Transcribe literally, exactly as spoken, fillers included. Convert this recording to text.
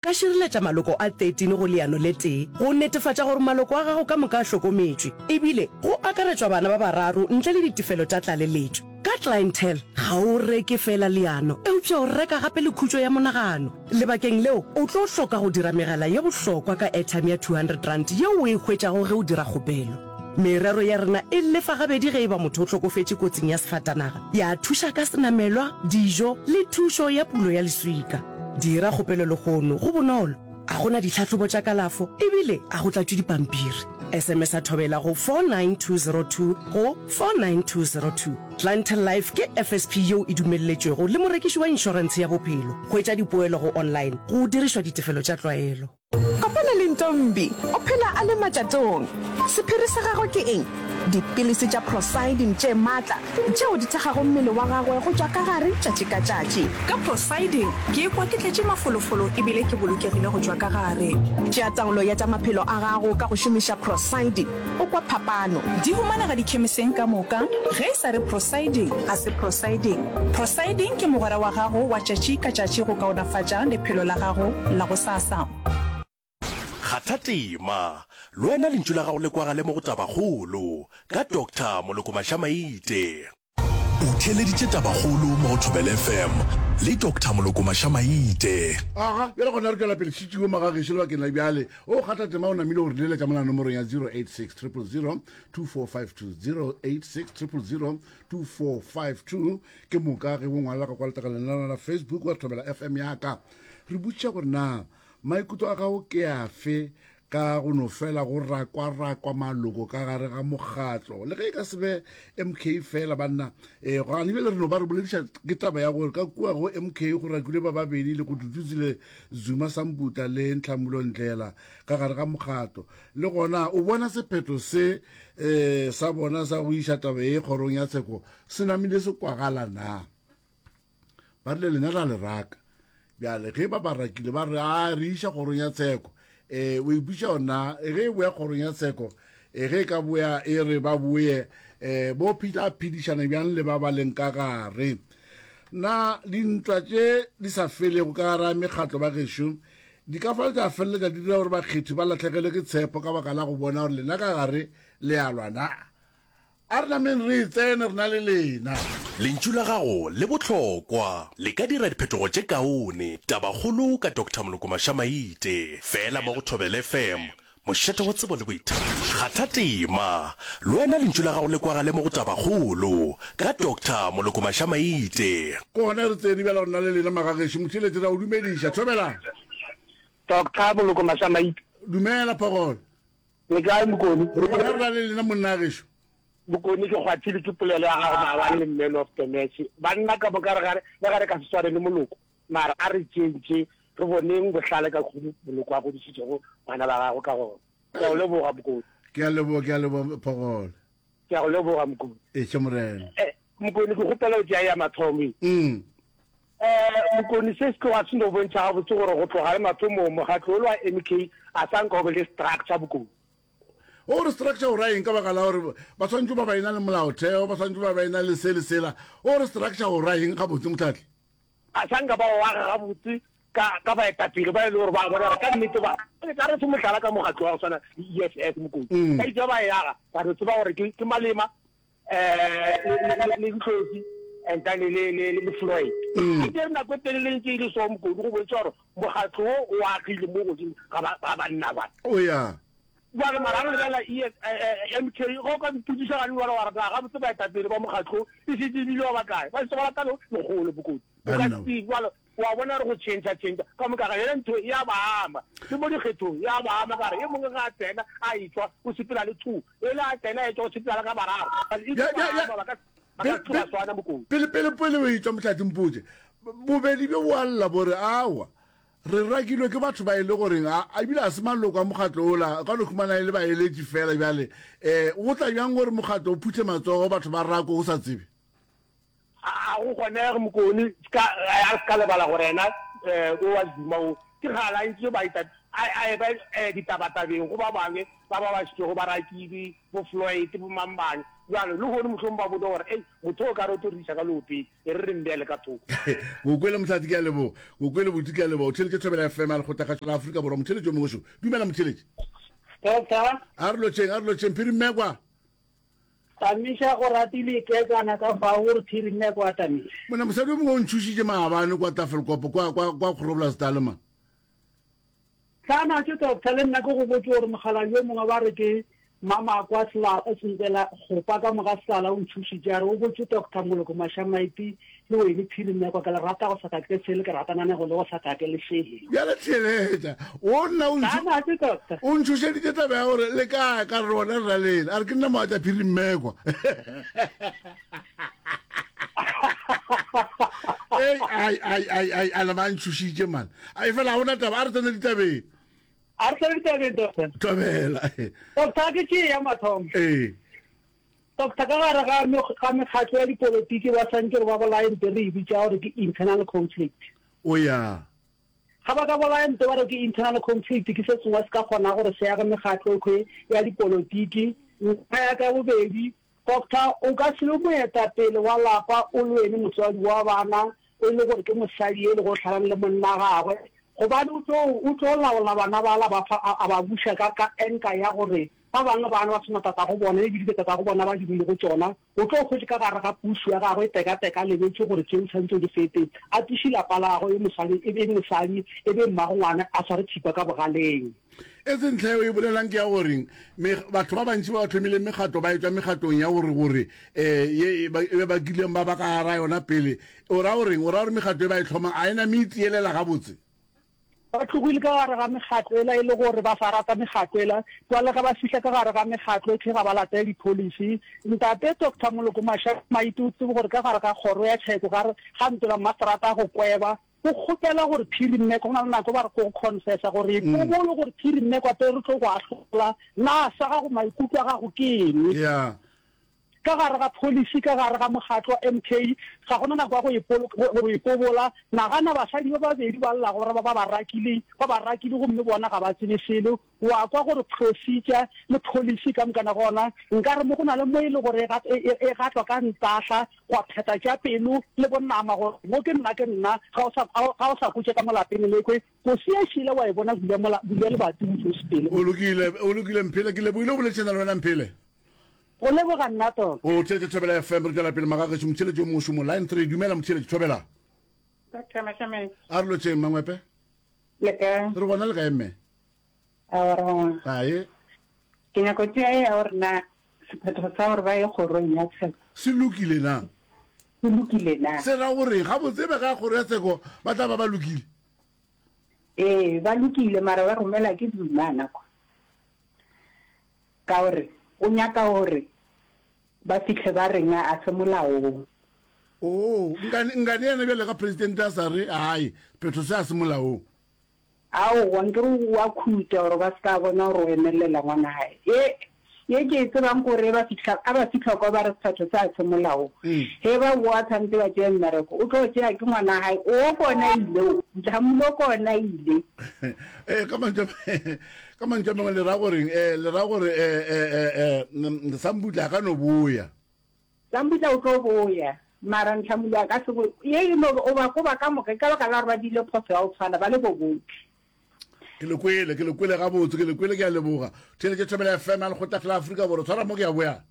Ka šireletša maloko a thirteen go leano le tee go netefatša gore maloko a gago ka moka a hlokometšwe, ebile go akaretšwa bana ba bararo ntle le ditefelo tša tlaleletšo. Ka Clientele, ga o reke feela leano, eupša o reka gape le khutšo ya monagano. Lebakeng leo, o tlo hloka go dira megala ye bohlokwa ka airtime ya two hundred rand yeo o e hwetšago ge o dira kgopelo. Merero ya rena e lefa gabedi ge e ba motho o hlokofetše kotsing ya sefatanaga, ya thuša ka senamelwa, dijo le thušo ya pulo ya leswika. Dira kgopelo lehono, go bonolo, a go na ditlhahlobo tša kalafo ebile a go tlatšwe dipampiri. S M S a Thobela go four nine two zero two go four nine two zero two. Clientele Life ke F S P yeo e dumelletšwego le morekiši wa inšorentshe ya bophelo. Hwetša dipoelo go online go dirišwa ditefelo tša tlwaelo. Kopana le Ntombi, o phela a le matšatong. Sephiri sa gagwe ke eng? Dipilisi tša Prosiding tše matla tšeo di thekgago mmele wa gagwe go tšwa ka gare tšatši ka tšatši. Ka Prosiding, ke ikwa ke tletše mafolofolo e bile ke bolokegile go tšwa ka gare. Tšea taolo ya tša maphelo a gago ka go šomiša Prosiding, o kwa phapano. Di humanega dikhemiseng ka moka. Ge e sa re Prosiding, ga se Prosiding. Prosiding ke mogwera wa gago wa tšatši ka tšatši go kaonafatša lephelo la gago la gosasa. Kgatha tema, le wena lentšu la gago le kwagale mo go Tabakgolo ka Doctor Moloko Mašamaite. O theeleditše Tabakgolo mo go Thobela F M le Doctor Moloko Mašamaite. Aga, bjale gona re tšwela pele šitšiwe magagešo lebakeng la bjale. O kgatha tema o namile gore leletša mola nomorong ya zero eight six triple zero two four five two, zero eight six triple zero two four five two. Ke moka ge o ngwalela ka kwa letlakaleng la la Facebook wa Thobela F M ya ka. Re botšiša gore na maikutlo a gago ke afe ka go no fela go rakwa-rakwa maloko ka gare ga mokgatlo, le ge e ka se be M K fela banna. um gane bjale re no ba re bolediša ke taba ya gore ka kua go M K go rakilwe ba babedi le go Duduzile Zuma Sambutla le Nhlamulo Ndlela ka gare ga mokgatlo. Le gona o bona sephetho se um sa bona sa go iša taba ye kgorong ya tsheko se namile se kwagala na? Ba rile lena ra le raka, bjale ge ba ba rakile ba re a re iša kgorong ya tsheko. um o ipotša ona ge e boya kgorong ya tsheko, um ge e ka boya e re ba boye, um bo tla phedišana bjang le ba ba leng ka gare? Na dintwa tše di sa felego ka gare ga mekgatlo ba gešo di ka fa tša feleletša di dira gore bakgethi ba latlhegelwe ke tshepo ka baka la go bona gore lena ka gare le a lwa na? A re nameng re e tsene re na le lena. Lentšu la gago le bohlokwa, le ka dira diphetogo tše kaone. Tabakgolo ka Doctor Moloko Mašamaite, feela mo go Thobela F M, mošate wa tsebo le boithabišo. Kgatha tema, le wena lentšu la gago le kwagale mo go Tabakgolo ka Doctor Moloko Mašamaite. Ke gona re tsene bjale re na le lena magagešo. Motheeletši re a o dumediša. Thobela. Doctor Moloko Mašamaite. Dumela Phogolo. Le kae Mokoni? Re gona re na le lena monna gešo. Mokoni, ke kgwathile ke polelo ya gago maabane le man of the match. Banna ka moka re gare le gare ka se swane le Moloko, mara a re tšentše re boneng bohlale ka kgomo Moloko a godišitšego bana ba gagwe ka gona. Ke a go leboga Mokoni. Ke a leboga, ke a leboga Phogolo. Ke a go leboga Mokoni. Eše morena. Eh, Mokoni, ke kgopela o tšea ya mathomo e. Mm. Eh, Mokoni, se se tloga se no bontšha gabotse gore go tloga le mathomong mokgatlo o wa M K a sa nka o be le structure Bokoni. O re structure o ra eng? Ka baka la gore ba tshwanetse ba ba ena le molaotheo, ba tshwanetse ba ba ena le se le sela. O re structure o ra eng gabotse motlhatlhi? A sa nka ba o aga gabotse ka ka baetapele ba e le gore ba bona gore ka nnete ba ka re se mohlala ka mokgatlo wa go tshwana le E F F Mokoni. Ka itse ba e aga ba re tseba gore ke ke Malema um le Ntlosi and then le le le Floyd. E tsere nako e telele ntse e le so Mokoni go bontšha gore mokgatlo wo o agile mo godimo ga ba banna ba. O ya. Jwale mara re lebelela M K, ge o ka mpotšiša gane jwale wa re na gabotse baetapele ba mokgatlo e šetše ebile ba bakae? Ba šetše ba lata lekgolo Bokoni. O ka se jwale wa bona re go change change ka moka ga yona ntho ya ba ama le mo dikgethong ya ba ama ka re e mongwe ga a tsena a etšwa o sepela le two, e le a tsena a etšwa o sepela le ka bararo. E tlo ba ama ba ka ba ka se ba swana Bokoni. Pele pele pele o etšwa motlhatsi mpotše, bobedi bjo bo a lla bo re aowa re rakilwe ke batho ba e le goreng a ebile a se maloko a mokgatlo ola, ka no khumana e le baeletši fela. Bjale um go tla bjang gore mokgatlo o phuthe matsogo batho ba rako o sa tsebe? A go kgonege Mokoni, a re se ka lebala gore ena o wa Zuma o Ke kgale a ntše baeta a, a eba eh, ditabatabeng go ba bangwe ba ba ba šetšego ba rakilwe, bo Floyd, bo mang bang. Bjale, lehono mohlomong ba bone gore, Ei, motho o ka re o tlo re iša ka leopeng, e re re mmeele ka thoko. O kwele, Mohlahli, ke a leboga. O kwele, Buti, ke a leboga. O theeletše Thobela F M ya Lekgotlakgašo la Afrika Borwa. Motheeletši yo mongwe šo. Dumela, motheeletši. Doctor. A re lotšheng, a re lotšheng, Phiri Mmekwa. Tamiša o ratile kekana ka fao gore Phiri Mmekwa a tamiše. Monna, mosadi yo mongwe o ntšhošitše maabane kwa Tafelkop, kwa, kwa, kwa Groblersdal, man. Hlana ke doctor le nna ke go botše gore mokgalabje yo mongwe ba re ke Mamakwa Sela Sentela Kgopa ka moga Selala o ntšhošitše a re o botše Doctor Moloko Mašamaiti le wene Phiri Mmekwa ke le rata go sa kake sele ke ratananego le go sa kake le sele. Bjale theeletša o nna o ntšho Hlana ke doctor. o ntšhošeditše taba ya gore le kae ka re rona re ra lena a re ke nna mogatša Phiri Mmekwa. Ei ai ai ai ai a nama a ntšhošitše man. Ai fela ga gona taba a re tsene ditabeng. A re tsene ditabeng doctor. Thobela. Doctor ke tšee ya mathomo. Ee. Doctor ka gare ga ga mekgatlo ya dipolotiki ba swantše gore ba bolaye nto re e bitša gore ke internal conflict. O ya. Ga ba ka bolaya nto ba re ke internal conflict ke se sengwe se ka kgonago gore se age mekgatlo ekhwe ya dipolotiki. Ntlha ya ka ya bobedi Doctor, o ka se be moetapele wa lapa o le wene motswadi wa bana e le gore ke mosadi e lego o hlalane le monna gagwe, gobane o tlo, o tlo laola bana bala ba fa, a, a ba buša ka, ka enka ya gore ba bangwe bana ba se na tatago bona e bile tatago bona ba dirilego tšona. O tlo hwetše ka gare ga pušo ya gagwe teka-teka a lebetše gore tšeo tshwanetše o di fete, a tliše lapa la gagwe e mosadi, e be mosadi, e be mmago ngwana a sware thipa ka bogaleng. Etse ntlha yeo e bolelang ke ya goreng me, batho ba bantši ba ba thomileng mekgatlo ba etšwa mekgatlong ya gore, gore, eh, ye e ba, e ba kileng ba ba ka gara yona pele. O ra goreng? O ra gore mekgatlo e ba e hlomang a e name e tielela gabotse? Ba tlogile ka gare ga mekgatlo ela e le gore ba sa rata mekgatlo ela. Bjale ge ba fihla ka gare ga mekgatlo ekhwi ga ba latele di-policy. Ntate Doctor Moloko Mashaba Maite o tsebe gore ka gare ga kgoro ya tsheko ga, ga ntlo la mmaseterata go kweba, o kgopela gore Phiri Mmekwa, go na le nako ba re ko go confessa gore ipobolo gore Phiri Mmekwa pele re tlo go ahlola, na sa gago maikutlo a gago ke eng? Yeah. Ka gare ga policy, ka gare ga mokgatlo wa M K, ga go na nako ya go ipolo, go ipobola. Nagana basadi ba babedi ba llago ba re ba ba rakile, ba ba rakile gomme bona ga ba tsebe selo. Wa kwa gore procedure le policy ka mokana ga ona, nkare mo go na le mo e le gore e, e, e gatlwa ka ntahla, gwa phetha tša pelo le bonama gore mo ke nna ke nna, ga o sa, ga o sa kotše ka mo lapeng lekwe. Kosi ya šila wa e bona bula mola, bula lebati o tlo sepele. O lokile, o lokile Mphele, ke lebohile go boledišana le wena Mphele. Go leboga nna tota. O theetša Thobela F M, re tšwela pele magagešo, motheeletši yo mongwe šomo, line three, dumela motheeletši, Thobela. Doctor Mashameng. A re lotšeng Mangwepe. Le kae? Re gona le kae mme? Aowa re gona. Ae. Ke nyako tšea ye ya gore na sephetho sa gore ba ye kgorong ya tsheko. Se lokile na? Se lokile na? Se ra gore gabotse be ga kgoro ya tsheko ba tla ba ba lokile? Ee, ba lokile mara ba romela ke Zuma na kwa. Ka gore o nyaka gore ba fihle ba reng a se molaong. Oo, nkane, nkane yena bjale ka presidente a sa re, hai, sephetho se a se molaong. Aowa, nkere o a khuta gore ba se ka bona gore o emelela ngwana gae. Ye, ye ke e tsebang ke gore ge ba fihla, a ba fihla kwa ba re sephetho se a se molaong. Ge ba boa tshwanetse ba tšee mmereko, o tlo tšea ke ngwana gae, o kona ile o, Nhlamulo kona ile. Eh, ka mantšu a, ka mantšu a mangwe le ra goreng? Eh, le ra gore eh, eh, eh, eh, Sambutla a ka no boya. Sambutla o tlo boya, mara Nhlamulo a ka se boye. Ye e no o ba koba ka moka, ke ka baka la gore ba diile phoso ya go tshwana, ba le bo bohle. Ke le kwele, ke le kwele gabotse, ke le kwele, ke a leboga. Theeletše Thobela F M ya Lekgotla la Afrika Borwa, tshwara mo ke a boya.